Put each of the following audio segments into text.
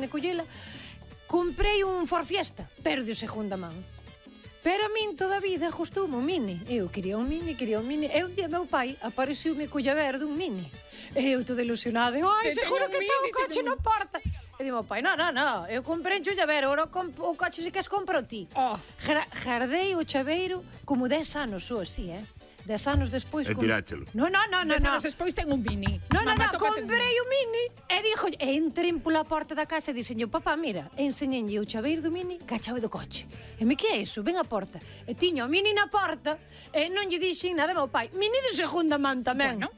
onde collela. Comprei un Ford Fiesta, pero de segunda man. Pero a min toda a vida gustoume un Mini. Eu quería un Mini. E un día meu pai apareceu-me colla verde un Mini. E eu toda ilusionada. Ai, seguro que está un coche na porta. E di meu pai, no, eu comprei un chaveiro, agora o coche se queres compro ti. Jardei o chaveiro como 10 anos ou así, 10 anos despois... E tiráchelo. No. 10 anos despois ten un Mini. No, comprei o Mini e dixo, entrei pola porta da casa e dixenlle, papá, mira, enseñenlle o chaveiro do Mini ca chave do coche. E me, que é iso? Ven a porta. E tiño o Mini na porta e non lle dixen nada ao meu pai. Mini de segunda man tamén. Bueno.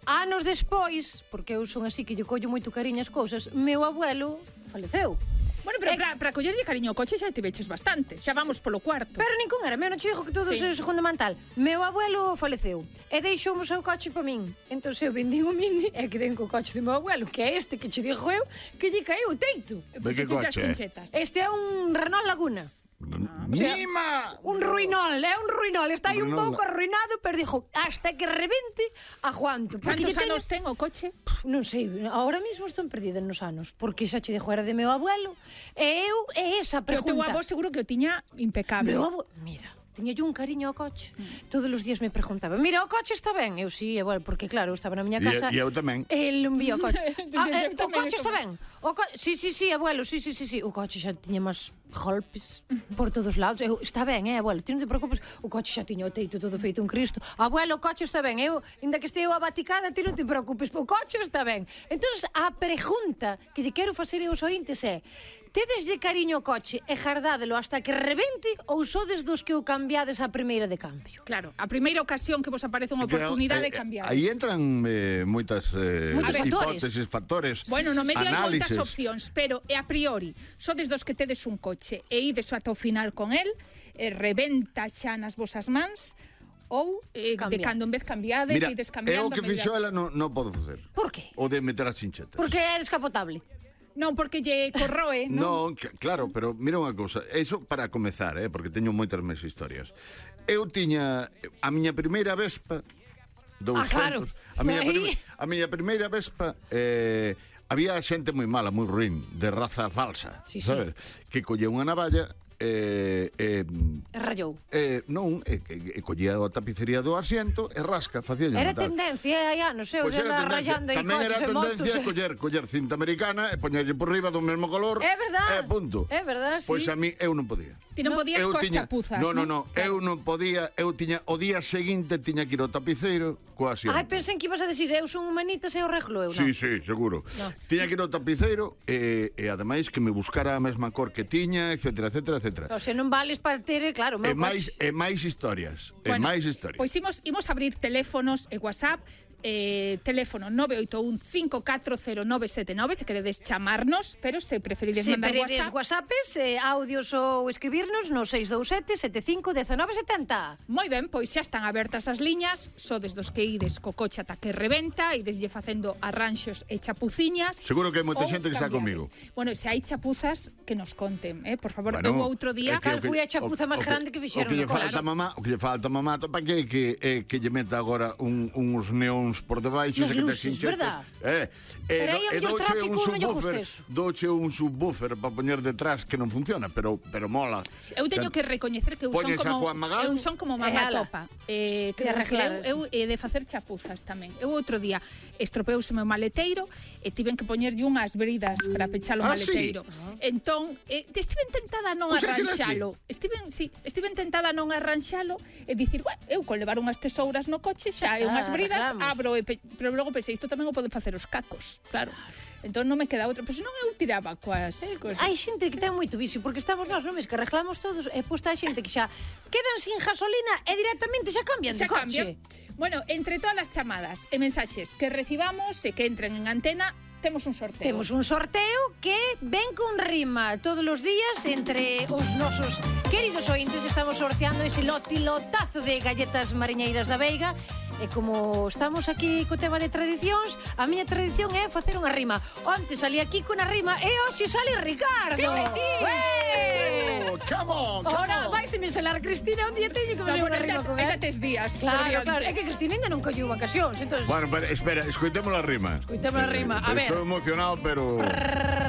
Anos despois, porque eu son así que lle collo moito cariño as cousas, meu abuelo faleceu. Bueno, pero para collerlle cariño ao coche xa te veches bastante. Xa vamos polo cuarto. Pero ningún era meu, non che digo que todo é segunda man tal. Meu abuelo faleceu e deixou o seu coche para min. Entón eu vendí o Mini e quedei co coche do meu abuelo, que é este que che digo eu, que lle caeu o teito. De que coche? Este é un Renault Laguna. ¡Mima! Un ruinol, está aí un pouco arruinado, pero dixo, hasta que rebente, aguanto. Cantos anos ten o coche? Non sei, ahora mesmo estou perdida nos anos, porque xa che dixo era de meu abuelo, e eu, é esa pregunta. Pero o teu avó seguro que o tiña impecable. Meu avó, mira, tiña yo un cariño ao coche. Todos os días me preguntaba, mira, o coche está ben? Eu sí, igual, porque claro, eu estaba na miña casa. E eu tamén. El un vío o coche. O coche está ben? Sí, abuelo, sí. O coche xa tiña máis golpes por todos lados. Está ben, abuelo, ti non te preocupes. O coche xa tiña o teito todo feito un Cristo. Abuelo, o coche está ben. Inda que esteo abaticada, ti non te preocupes, o coche está ben. Entón, a pregunta que lle quero facer aos ointes é: tedes de cariño o coche e jardádelo hasta que rebente ou sodes dos que o cambiades a primeira de cambio? Claro, a primeira ocasión que vos aparece unha oportunidade de cambiar. Aí entran moitas hipótesis, factores, bueno, no medio hai moitas análises. opcións, pero a priori sodes dos que tedes un coche e ides ata o final con el, rebenta xa nas vosas mans, ou de cando en vez cambiades e descambiando. Mira, o que fixo ela non podo facer. Por que? O de meter as chinchetas. Porque é descapotable. Non, porque lle corroe, non? Non, claro, pero mira unha cousa. Eso para comezar, porque teño moitas máis historias. Eu tiña a miña primeira Vespa 200. Claro. A miña primeira Vespa había xente moi mala, moi ruín, de raza falsa, sabes? Que collía unha navalla rayou. Non, collía a tapicería do asiento e rasca, facía. Era tendencia hai anos, eu xa andaba rayando aí tamén coches era e motos. tendencia coller cinta americana e poñerlle por riba do mesmo color. É verdad. Punto. É verdad, sí. Pois a mí eu non podía. Ti non podías coas chapuzas, non? No, eu non podía, eu tiña o día seguinte tiña que ir ao tapiceiro coa asiento. Ai, pensei que ibas a decir, eu son humanita e o reglo eu, non? Sí, seguro. Tiña que ir ao tapiceiro e ademais que me buscara a mesma cor que tiña, etcétera. O sea, non vales para ter, claro, o meu coche. E máis historias. Pois imos abrir teléfonos e WhatsApp. Teléfono 981-540979 se queredes chamarnos, pero se preferides mandar WhatsApp. Audios ou escribirnos no 627-75-1970. Moi ben, pois xa están abertas as liñas. Sodes dos que ides co coche ata que rebenta, ideslle facendo arranxos e chapuciñas. Seguro que hai moita xente que está comigo. Bueno, se hai chapuzas que nos conten, por favor. Eu outro día cal foi a chapuza máis grande que fixeron. O que lle falta mamá para que lle meta agora uns neóns por debaixo, nas luces, verdad? Pero aí o tráfico non lle gusta eso. Douche un subwoofer para poñer detrás que non funciona, pero mola. Eu teño que recoñecer que eu son como mamá topa. Eu de facer chapuzas tamén. Eu outro día estropeouse o meu maleteiro e tiven que poñerlle unhas bridas para pechar o maleteiro. Entón, estiven tentada a non arranxalo. Estiven tentada a non arranxalo e dicir, eu con levar unhas tesouras no coche xa e unhas bridas abro, pero logo pensei, isto tamén o poden facer os cacos, claro. Entón non me queda outra, pois non eu tiraba coas. Hai xente que ten moito vicio, porque estamos nós, non mes que arreglamos todos, e posta hai xente que xa quedan sin gasolina e directamente xa cambian de coche. Bueno, entre todas as chamadas e mensaxes que recibamos e que entren en antena, temos un sorteo. Temos un sorteo que ven con rima todos os días entre os nosos queridos ointes. Estamos sorteando ese lotazo de galletas mariñeiras da Veiga. E como estamos aquí co tema de tradicións, a miña tradición é facer unha rima. Onte salí aquí con a rima e hoxe sale Ricardo. Come on. Ahora vaise me salar Cristina, un día teño que facer unha rima con ela. Tes días. Claro. É que Cristina ainda non colleu vacacións, entonces. Bueno, espera, escoitemos a rima. A ver. Estou emocionado, pero... A ver. Estou emocionado, pero